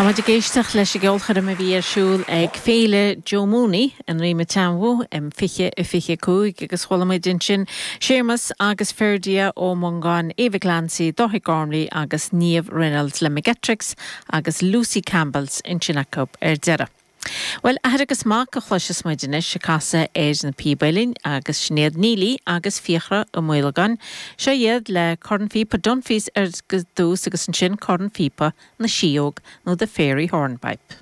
Tá muid ag éisteacht leis an gceolchoirm a bhí ar siúl ag Féile Joe Mooney i nDroim an tSeanbhó in 2025 agus chuala muid ansin Séamus agus Ferdia Ó Mongáin, Eva Clancy, Dáithí Gormley agus Niamh Reynolds le McGettricks agus Lucy Campbells ansin acu ar deireadh. Bhuel, athair agus mac a chloisfeas muid anois ag casadh ar na píoba uilleann agus sin iad Neilí agus Fiachra Ó Maolagáin. Seo iad le cornphíopa Dunphy's ar dtús agus ansin cornphíopa na Síóg nó The Fairy Hornpipe.